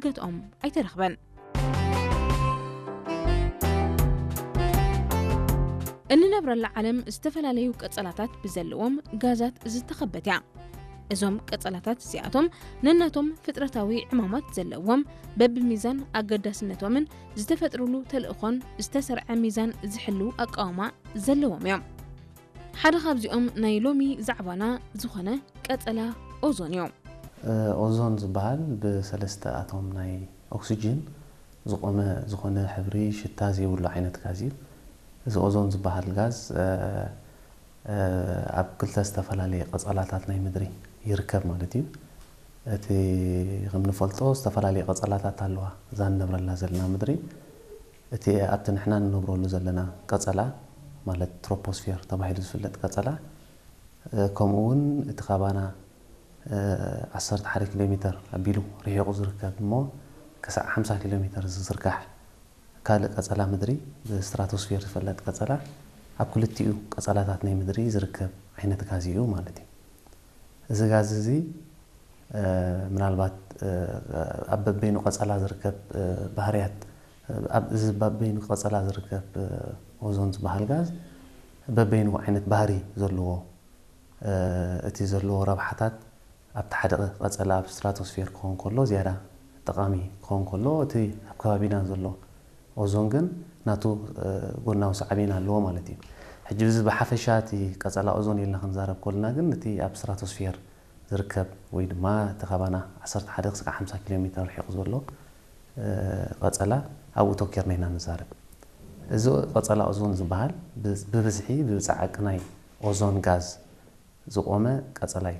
ገትኦም ኣይተረኽበን። እንነብረላ ዓለም ዝተፈላለዩ ቀጸላታት ብዘለዎም ጋዛት ዝተኸበት እያ። እዞም ቀጸላታት እዚኣቶም ነናቶም ፍጥረታዊ ዕማማት ዘለዎም፣ በብሚዛን ኣገዳስነቶምን ዝተፈጥሩሉ ተልእኾን ዝተሰርዐ ሚዛን ዝሕልው ኣቃውማ ዘለዎም እዮም። ሓደ ካብዚኦም ናይ ሎሚ ዛዕባና ዝኾነ ቀጸላ ኦዞን እዩ። ኦዞን ዝበሃል ብሰለስተ ኣቶም ናይ ኦክሲጅን ዝቆመ ዝኾነ ሕብሪ ሽታ ዘይብሉ ዓይነት ጋዝ እዩ። እዚ ኦዞን ዝበሃል ጋዝ ኣብ ክልተ ዝተፈላለየ ቀጸላታት ናይ ምድሪ ይርከብ ማለት እዩ። እቲ ከም ንፈልጦ ዝተፈላለየ ቀጸላታት ኣለዋ እዛ ንነብረላ ዘለና ምድሪ። እቲ ኣብቲ ንሕና ንነብረሉ ዘለና ቀጸላ ማለት ትሮፖስፌር ተባሂሉ ዝፍለጥ ቀጸላ ከምኡ እውን እቲ ካባና ዓሰርተ ሓደ ኪሎ ሜተር ኣቢሉ ርሒቑ ዝርከብ እሞ ክሳዕ ሓምሳ ኪሎ ሜተር ዝዝርጋሕ ካልእ ቀጸላ ምድሪ ብስትራቶስፌር ዝፍለጥ ቀጸላ ኣብ ክልቲኡ ቀጸላታት ናይ ምድሪ ዝርከብ ዓይነት ጋዝ እዩ ማለት እዩ። እዚ ጋዝ እዚ ምናልባት ኣብ በበይኑ ቀጸላ ዝርከብ ባህርያት ኣብ እዚ በበይኑ ቀጸላ ዝርከብ ኦዞን ዝበሃል ጋዝ በበይኑ ዓይነት ባህሪ ዘለዎ እቲ ዘለዎ ረብሓታት ኣብቲ ሓደ ቀጸላ ኣብ ስትራቶስፌር ክኸውን ከሎ ዝያዳ ጠቓሚ ክኸውን ከሎ እቲ ኣብ ከባቢና ዘሎ ኦዞን ግን ናቱ ጎናዊ ሳዕቤን ኣለዎ ማለት እዩ። ሕጂ እዚ ብሓፈሻ እቲ ቀጸላ ኦዞን ኢልና ክንዛረብ ከለና ግን እቲ ኣብ ስትራቶስፌር ዝርከብ ወይ ድማ እቲ ካባና ዓሰርተ ሓደ ክሳዕ ሓምሳ ኪሎ ሜትር ርሒቑ ዘሎ ቀጸላ ኣብኡ ተኪርና ኢና ንዛረብ። እዚ ቀጸላ ኦዞን ዝበሃል ብብዝሒ ብጻዕቂ ናይ ኦዞን ጋዝ ዝቆመ ቀጸላ እዩ።